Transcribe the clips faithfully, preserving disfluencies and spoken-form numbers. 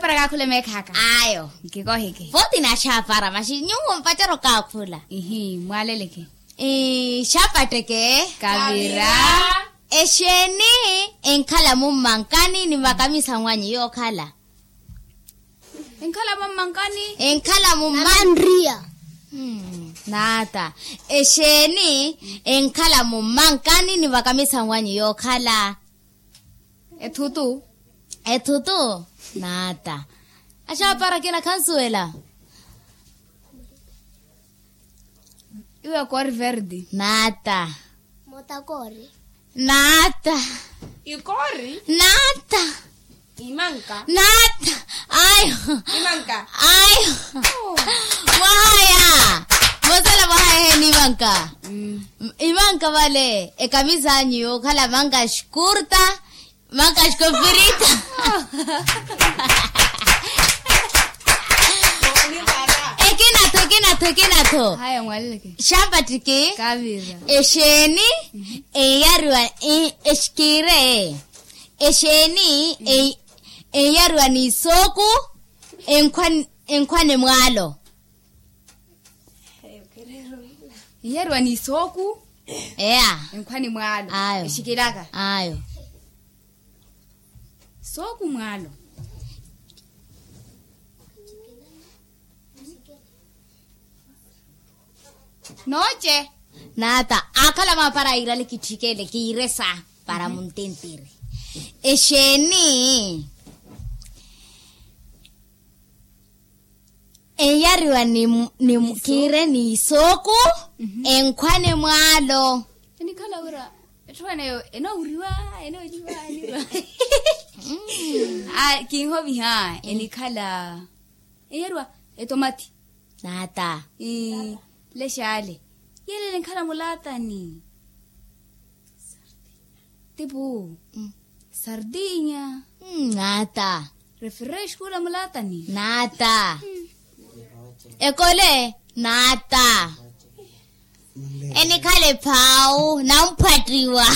Para kaakhula meekhaaka. Ayo. Nkikoheke. Footi naaxaapara maxi nyuwo mpattero kaakhula. Ihi mwaaleleke. Xapatteke. Kavira. Exeeni enkhala mummankani ni vakamisanwanyu yookhala? Enkhala mummankani. Enkhala mummanriya. Naata. Exeeni enkhala mummankani ni vakamisanwanyu yookhala? Ethutu. Ethutu. Naata. Axaapara akina khansuwela. Iwe koori verdi. Naata. Mota koori. Naata. Ikoori. Naata. Imanka. Naata. Ayo. Imanka. Ayo. Mwahaya. Mosela mwahaya heni imanka. Imanka vale ekamisanyu yookhala manka xikurta. Manka xikofirita. Ekinatho ekinatho ekinatho. Xampattiki. Exeeni enyariwa exikire. Exeeni enyariwa ni isooku enkhwane mwaalo. Inyariwa ni isooku. Eya. Enkhwani mwaalo. Ayo. Exikilaka. Ayo. Sooku mwaalo. Nooce. Naata akhala maapara iirale kitthikele kiiresa para muntentiri. Exeeni enyariwa ni kiire ni isooku enkhwane mwaalo. Enikhala wira etthu ene eyo enoowuriwa enooliwa eniwa. Kinhoviha enikhala enyariwa etomati. Naata. Lexaale yelele enkhala mulaatani. Tipu. Sardinya. Naata. Refresh kula mulaatani. Naata. Ekole. Naata. Enikhala ephaawu namphwattiwa.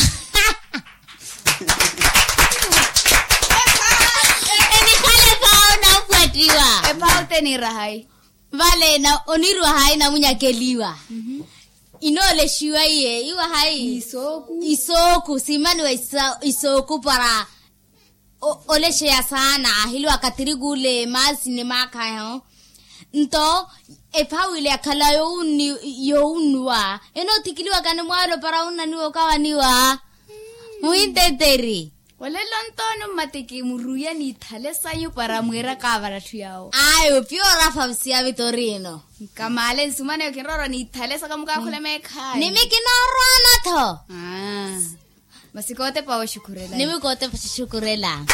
Enikhala ephaawu namphwattiwa. Ephaawu teniira hayi? Vale oniiriwa hayi namunyakeliwa. Inoolexiwa iye iwa hayi? Isooku simmaniwa isooku para olexeya saana ahiliwaka tirikule maasi ni maakhayo. Nto ephawu ile yakhala yowunnuwa enoothikiliwaka ni mwaalo para wunnaniwa okawaniwa. Muhinteteri. Olelo nto nummatiki muruya n'ithale sanyu para mwiira kaavara atthu yawo. Ayo piyo orafa msiya vitorino. Nkamaale nsumaneyo kinroorwa n'ithale saka mukaakhule meekhayi nimi kinoorwana-tho. Masi kootepa woxukhurela nimi kootepa xoxukhurela.